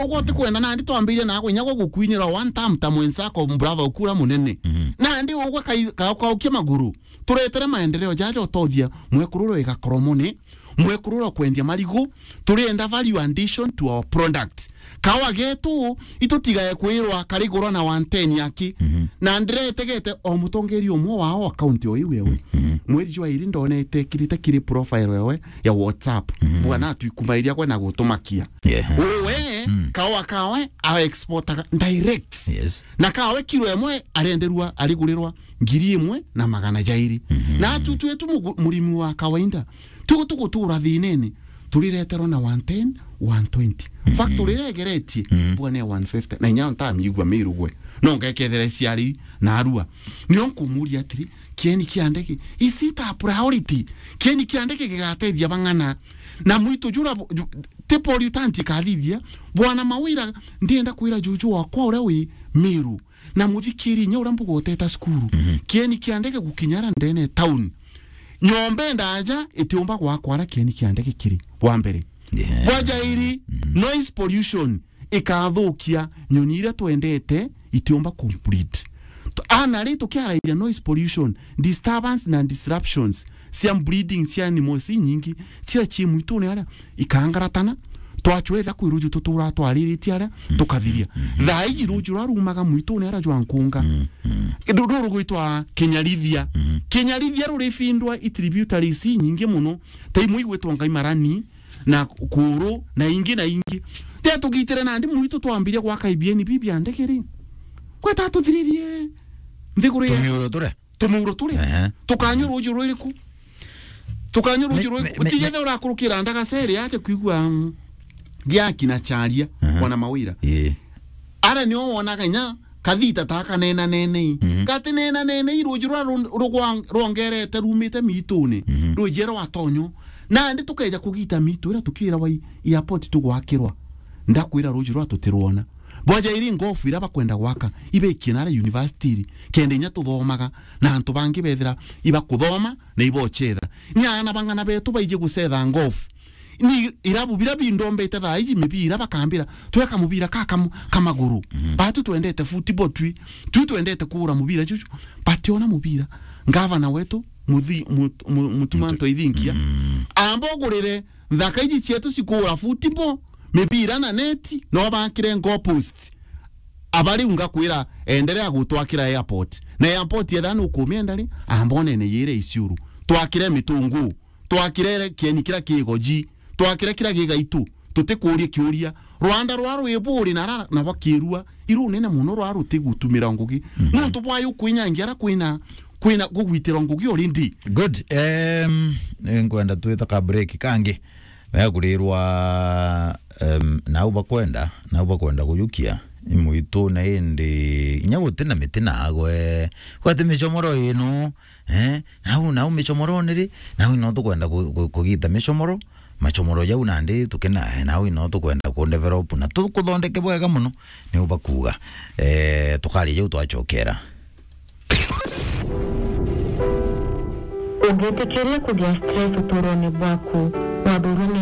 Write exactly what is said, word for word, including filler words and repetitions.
Ugwe utikwenda nandi twambirie naagwe inya gwa gukwinira one time ta mwenzako, brother ukura munene. Mhm. Nandi ugwe kai-, ka-, kaukia maguru. Turetere maendeleo jaja utothia mwekuru wi Gakoromone, mwekuru wi kwendia marigu, turienda value addition to our product. Kawa getu, itutigae kwirwa karigurwa na one ten yaki. Mhm. Na ndiretegete o mutongeri umwe wao account o iu ewe. Mhm. Mweri jwa iri ndonete kirite kiri profile ewe ya WhatsApp. Mhm. Bwana atwikumairia gwe na gutumakia. Yeah. Uwe, mm, kawa kawe a exportaga direct. Yes. Na kawe kilo emwe arenderwa, arigurirwa ngiri imwe na magana jairi. Mhm. Na atu twetu mugu-, murimi wa kawaida, tugu tugutura thinene, turireterwa na one ten, one twenty. Mhm. Factory iria igeretie, mhm, bwana ya one fifty. Na inya ntamiigua Miru gwe. No ngekethera ciari na arua. Nio nkumuria atiri, kieni kia ndege, is it a priority? Kieni kia ndege gigatethia bang'ana? Na mwitu jura bu-, ju-, ti pollutant ikathithia. Bwana Mawira, ndienda kwira juju wakwa uria wi Miru. Na muthikiri inya uria mbuga uteta cukuru. Mhm. Kieni kia ndege gukinya ara ndene town. Nyomba ndaja itiumba gwakwa ara kieni kia ndege kiri. Bwa mbere. Yeah. Bwa jairi, mhm, noise pollution ikathukia nyoni iria twendete itiumba complete. T-, ana ri tukiarairia noise pollution, disturbance na disruptions cia breeding cia animals inyingi, ciria ci mwitune aria ikangaratana, twachwetha kwi ruju tutura twariritie aria, mm, tukathiria. Mm. Thaa iji ruju ruria rumaga mwitune aria jwa nkunga. Mm. Mm. Ru-, ruru rugwitwa Kinyarithia. Mm. Kinyarithia rurifindwa i tributaries inyingi muno, ta imwe igwitwa Ngaimarani, na Kuru, na ingi na ingi. Ria tugitire nandi mwitu twambirie gwaka ibieni bibi bia ndege ri. Gweta tuthiririe nthiguru ya Tumiuro turia. Tumuuro turi. Ehe. Tukanyua ruuji rwiriku? Tukanyua ruuji Me-, rwiriku? Me-, me-, Utigithe me- urakurukira ndagaceri aje kwigua, mm, giaki na charia, ehe, Bwana Mawira. Ii. Ara nio wonaga inya kathita ta kanena nenei. Mhm. Gati nena nenei ruuji rwa ru-, rugwa-, rwongerete rumite miitune. Mhm. Ruuji rwa tonyo. Nandi tukeja kugita miitu ira tukiira wa i-, airport tugwakirwa. Ndakwira ruuji rwa tutirwona. Bwaja iri ngofu ira bakwenda gwaka, ibekie nara university iri, kenda inya tuthomaga, na antu bangi bethira ibakuthoma na ibocetha. Ni aana bang'ana betu baiji gucetha ngofu. Ni irabu bira bindombete thaa iji mibira bakambira, "Tweka mubira ka kamu-, ka maguru." Mhm. Batu twendete football twi, twi twendete kuura mubira juju. Bationa mubira. Ngavana wetu, Muthi-, Mut-, Mu-, Mutuma Mutu-, Ntwaithinkia. Mm. Amba ugurire nthaka iji cietu cikuura football, mibira na neti, no bakire goal post. Aba riu ngakwira, enderea gutwakira airport. Na airport yetha nukumienda ri, amba unene yire Isiuru. Twakire Mitungu. Twakire kieni kira ki Igoji. Twakire kira ki Gaitu. Tutikuuria kiuria. Rwanda rwa rwi buri na ra-, na bakirua. Iru nene muno rwa rutigutumira ngugi. Mhm. Nontu bwa yu kwinyangia ara kwina, kwina kugwitira ngugi already. Good. Em, nkwenda twita ka break kangi. Meakurirwa, em, nau bakwenda, nau bakwenda kujukia imwitu na indi inya guti na miti nagwe. Gwati micomoro ino, eh, nau, nau micomorone ri, nau ino tukwenda ku-, ku-, kugita micomoro, macomoro jau nandi tukina, eh, nau ino tukwenda ku develop na tukuthondeke bwega muno, niu bakuuga. Eh, tukaria jau twachokera. Ungitikiria kugia stress uturone bwaku, wathurwa ni